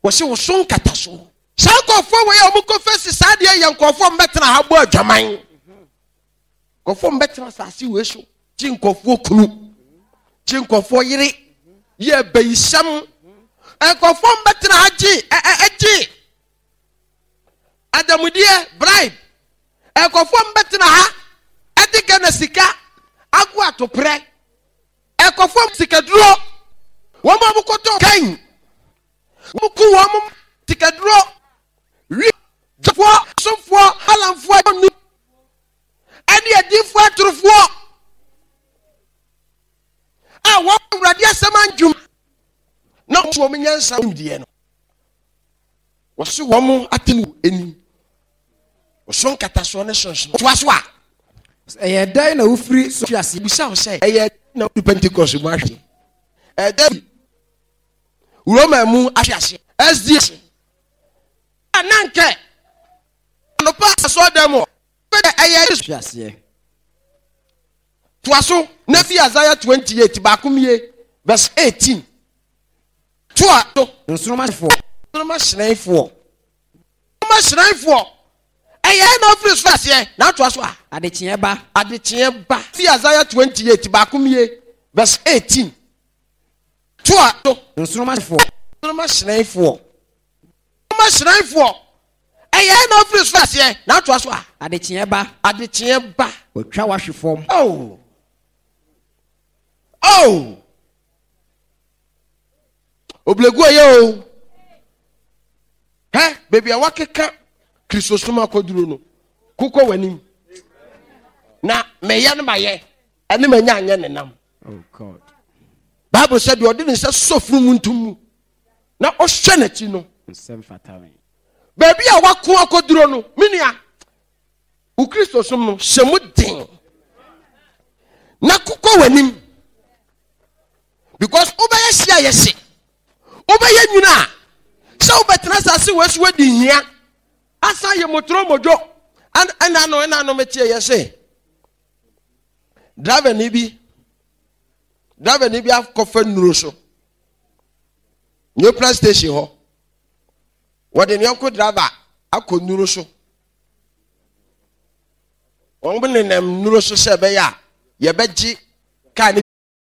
Wɔse wo so nkatasoɔ. Saa nkurɔfoɔ wei a wɔkɔ fɛsi saa deɛ yɛ nkurɔfoɔ mbɛtena ha bɔ adwaman. Nkurɔfoɔ mbɛtena asase wei so gye nkurɔfoɔ kunu, gye nkurɔfoɔ yere, yɛ abayisɛm. Nkurɔfoɔ mbɛtena ha gye ɛgye adamudeɛ bribe. Nkurɔfoɔ mbɛtena ha ɛde Ghana sika ago atoprɛ. Nkurɔfoɔ sikaduro wɔn a wɔkɔtɔ kan. Wɔku wɔn sikaduro, wi, dwafoɔ, asomfoɔ, alamfoɔ, nu, ɛne adiifoɔ atorofoɔ a wɔn Awurade asɛm andwuma na wɔn nyansa nimdeɛ no. Wɔso wɔn atemmu anim. Wɔso nkatasoɔ ne sonsono. Toa so a. Ɛyɛ dɛn na wofiri so hwe ase? Bisa wo sɛ, ɛyɛ dɛn na wofiri Pentecost mu ahwe? Ɛyɛ dɛn Roma mu ahwe ase? SDS. Na nkɛ anɔpa asɔɔdan mu ɛyɛ hwe aseɛ. Toa so na fi Isaiah 28 baako mie verse 18. Toa so. Nsoromma foɔ. Nsoromma hyerɛnfoɔ. Nsoromma hyerɛnfoɔ. Ɛyɛ na ofiri so aseɛ na atoa so a. Adekyeɛ ba. Adekyeɛ ba. Fi Isaiah 28 baako mie verse 18. Toa so. Nsoromma foɔ. Nsoromma hyerɛnfoɔ. Nsoromma hyerɛnfoɔ. Ɛyɛ na ofiri so aseɛ na atoa so a. Adekyeɛ ba. Adekyeɛ ba. Wɔatwa wahwe fam. Oh. Oh. Oblegu ɔyɛ o. Hɛ, baabi a wakeka Kristosom akɔduro no, kokɔ w'anim. Na mɛyɛ no mayɛ, ɛne manya anyɛ ne nam. Oh, Bible sɛ deɛ ɔde ne nsa sɔ funu mu ntom mu na ɔhwɛ n'akyi no. Baabi a wako akɔduro no, me nua, wo Kristosom no hyɛ mu den na kokɔ w'anim. Because wobɛyɛ hye a yɛhye, wobɛyɛ nwunu a sɛ wobɛtena asase wɔ so adi hia asan yɛ motoro modwo. Ɛna no ɛna no meteɛ yɛ se driver ni bi driver ni bi akɔfa nnuro so New Plan station hɔ, wɔde ne yɔnko driver akɔ nnuro so. Wɔn nenam nnuro so sɛ ɛbɛyɛ a yɛbɛgye kaa ne.